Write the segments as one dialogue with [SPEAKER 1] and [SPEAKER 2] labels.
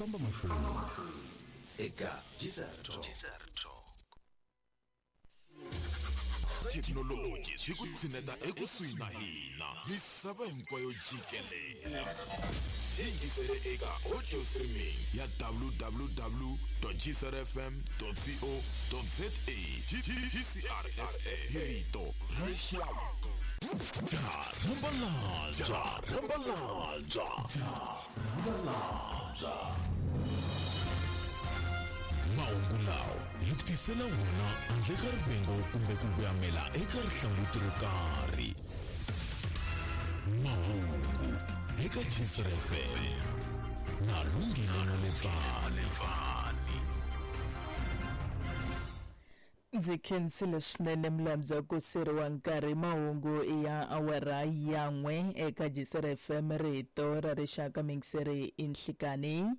[SPEAKER 1] famba mahlweni.
[SPEAKER 2] Eka GCR Talk.
[SPEAKER 3] Thekinoloji yi ku tshineta ekusuhi na hina misava hinkwayo jikelele. Yingisele eka audio streaming ya www.gcrfm.co.za. GCRSA hi rito ra rixaka. Rambalanja, rambalanja, rambalanja. Mahungu lawa hi ku tisela wona handle ka rivengo kumbe ku voyamela eka rihlanguti ro karhi. Mahungu eka GCR FM na Lungile Maletsani.
[SPEAKER 4] Ndzi khensile swinene Mlamza ku siriwa nkarhi. Mahungu ya awara ya 1 eka GCR FM, rito ra rixaka, mingiseri i nhlikani.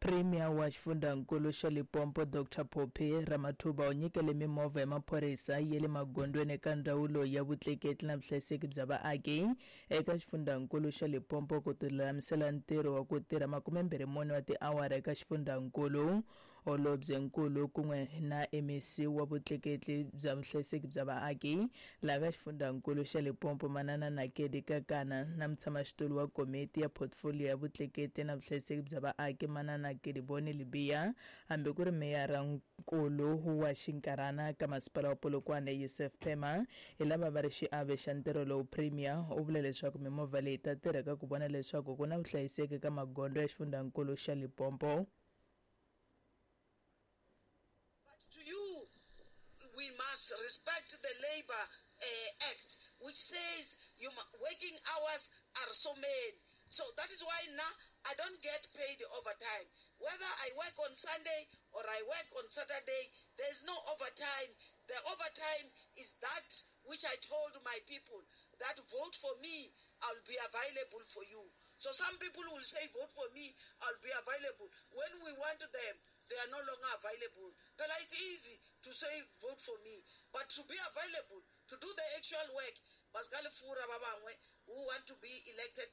[SPEAKER 4] Premier wa xifundzankulu xa Limpopo Dr Phophi Ramathuba u nyikele mimovha ya maphorisa ya le magondzweni eka ndzawulo ya vutleketli na vuhlayiseki bya vaaki eka xifundzankulu xa Limpopo ku tilulamisela ntirho wa ku tirha 24 wa tiawara eka xifundzankulu. Holobyenkulu kun'we na MEC wa vutleketli bya vuhlayiseki bya vaaki laha ka xifundzankulu xa Limpopo Manana Nakedi Kakana na mutshamaxitulu wa komiti ya portfolio ya vutleketli na vuhlayiseki bya vaaki Manana Kedibone Libya, hambi ku ri meyara nkulu wa xinkarhana ka masipala wa Polokwane Yusuf Pema hi lava va ri xiave xa ntirho lowu. Premier u vule leswaku mimovha leyi ta tirha ka ku vona leswaku ku na vuhlayiseki ka magondzo ya xifundzankulu xa Limpopo.
[SPEAKER 5] But to you, we must respect the Labour Act, which says your working hours are so many. So that is why now I don't get paid overtime. Whether I work on Sunday or I work on Saturday, there is no overtime. The overtime is that which I told my people, that vote for me, I'll be available for you. So some people will say, vote for me, I'll be available. When we want them, they are no longer available. But it's easy to say, vote for me. But to be available, to do the actual work, Pascal Fura Babangwe, who want to be elected.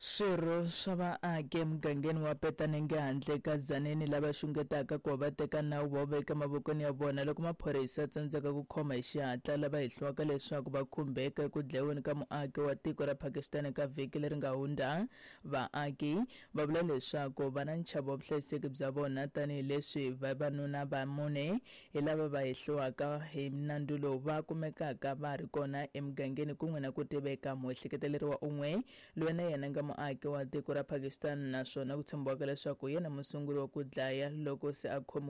[SPEAKER 4] Swirho swa vaaki emugangeni wa Petanenge handle ka Tzaneen lava xungetaka ku va teka nawu va veka mavokweni ya vona loko maphorisa ya tsandzeka ku khoma hi xihatla lava hehliwaka leswaku va khumbeka eku dlaweni ka muaki wa tiko ra Pakistan eka vhiki leri nga hundza. Vaaki va vula leswaku va na nchavo wa vuhlayiseki bya vona tanihileswi vavanuna va mune hi lava va hehliwaka hi nandzu lowu va kumekaka va ri kona emugangeni kun'we na ku tiveka muehleketeleriwa un'we loyi na yena nga muaki wa tiko ra Pakistan naswona ku tshembiwaka leswaku yena musunguri wa ku dlaya loko se a khomiwile.